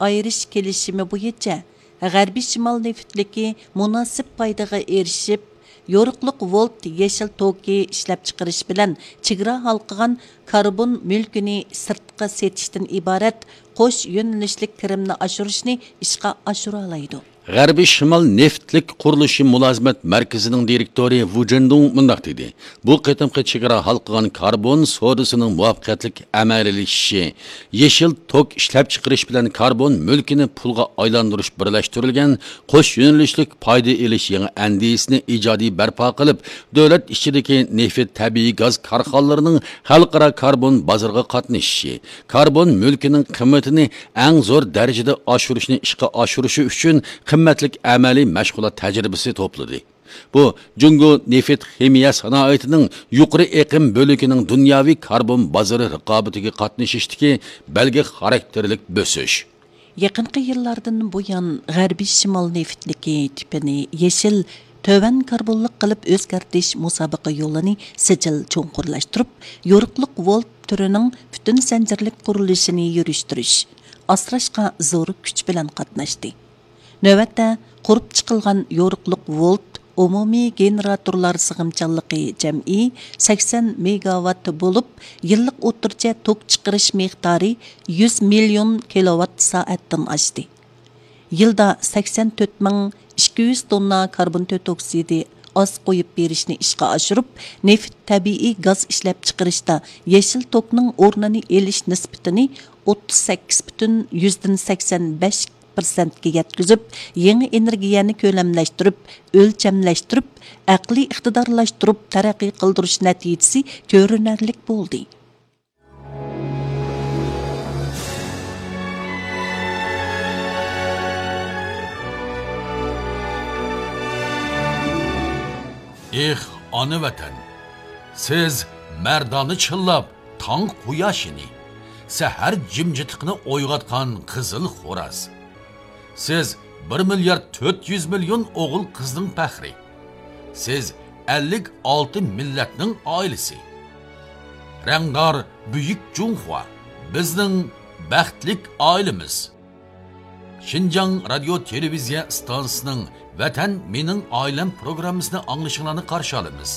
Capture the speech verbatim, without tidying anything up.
ئايرىش كېلىشىمى بويىچە غەربىي شىمال نېفىتلىكى مۇناسىپ پايدىغا ئېرىشىپ، يورۇقلۇق ۋولت يېشىل توكى ئىشلەپچىقىرىش بىلەن چېگرا ھالقىغان كاربون مۈلكىنى سىرتقا سېتىشتىن ئىبارەت قوش يۆنىلىشلىك كىرىمنى ئاشۇرۇشنى ئىشقا ئاشۇرالايدۇ. غەربىي شىمال نېفىتلىك قۇرۇلۇشى مۇلازىمەت مەركىزىنىڭ دىرېكتورى ۋۇ جېندۇڭ مۇنداق دېدى: بۇ قېتىمقى چېگرا ھالقىغان كاربون سودىسىنىڭ مۇۋەپپەقىيەتلىك ئەمەلىيلىشىشى، يېشىل توك ئىشلەپچىقىرىش بىلەن كاربون مۈلكىنى پۇلغا ئايلاندۇرۇش بىرلەشتۈرۈلگەن قوش يۆنىلىشلىك پايدا ئېلىش يېڭى ئەندىزىسىنى ئىجادىي بەرپا قىلىپ، دۆلەت ئىچىدىكى نېفىت، تەبىئىي گاز كارخانىلىرىنىڭ خەلقئارا كاربون بازىرىغا قاتنىشىشى، كاربون مۈلكىنىڭ قىممىتىنى ئەڭ زور دەرىجىدە ئاشۇرۇشنى ئىشقا ئاشۇرۇشى ئۈچۈن قىممەتلىك ئەمەلىي مەشغۇلات تەجرىبىسى توپلىدى. بۇ، جۇڭگو نېفىت خىمىيە سانائىتىنىڭ يۇقىرى ئېقىم بۆلىكىنىڭ دۇنياۋى كاربون بازىرى رىقابىتىگە قاتنىشىشتىكى بەلگە خاراكتېرلىك بۆسۈش. يېقىنقى يىللاردىن بۇيان، غەربىي شىمال نېفىتلىكى تىپىنى يېشىل، تۆۋەن كاربونلۇق قىلىپ ئۆزگەرتىش مۇسابىقە يولىنى سىجىل چوڭقۇرلاشتۇرۇپ، يورۇقلۇق ۋولت تۈرىنىڭ پۈتۈن زەنجىرلىك قۇرۇلۇشىنى يۈرۈشتۈرۈش، ئاسراشقا زور كۈچ بىلەن قاتناشتى. نۆۋەتتە، قۇرۇپ چىقىلغان يورۇقلۇق ۋولت ئومۇمىي گېنېراتورلار سىغىمچانلىقى جەمئىي سەكسەن مېگاۋات بولۇپ، يىللىق ئوتتۇرىچە توك چىقىرىش مىقدارى يۈز مىليون كىلوۋات سائەتتىن ئاشتى. يىلدا سەكسەن تۆت مىڭ ئىككى يۈز توننا كاربون تۆت ئوكسىدى ئاز قويۇپ بېرىشنى ئىشقا ئاشۇرۇپ، نېفىت، تەبىئىي گاز ئىشلەپچىقىرىشتا يېشىل توكنىڭ ئورنىنى ئېلىش نىسبىتىنى ئوتتۇز سەككىز پۈتۈن يۈزدىن سەكسەن بەش پىرسەنتكە يەتكۈزۈپ، يېڭى ئېنېرگىيەنى كۆلەملەشتۈرۈپ، ئۆلچەملەشتۈرۈپ، ئەقلىي ئىقتىدارلاشتۇرۇپ تەرەققىي قىلدۇرۇش نەتىجىسى كۆرۈنەرلىك بولدى. ئېھ، ئانا ۋەتەن! سىز مەردانە چىللاپ، تاڭ قۇياشىنى، سەھەر جىمجىتلىقىنى ئويغاتقان قىزىل خوراز. سىز بىر مىليارد تۆت يۈز مىليون ئوغۇل-قىزنىڭ پەخرى. سىز ئەللىك ئالتە مىللەتنىڭ ئائىلىسى. رەڭدار بۈيۈك جۇڭخۇا، بىزنىڭ بەختلىك ئائىلىمىز. شىنجاڭ رادىيو تېلېۋىزىيە ئىستانسىسىنىڭ ۋەتەن مېنىڭ ئائىلەم پروگراممىسىنى ئاڭلىشىڭلارنى قارشى ئالىمىز.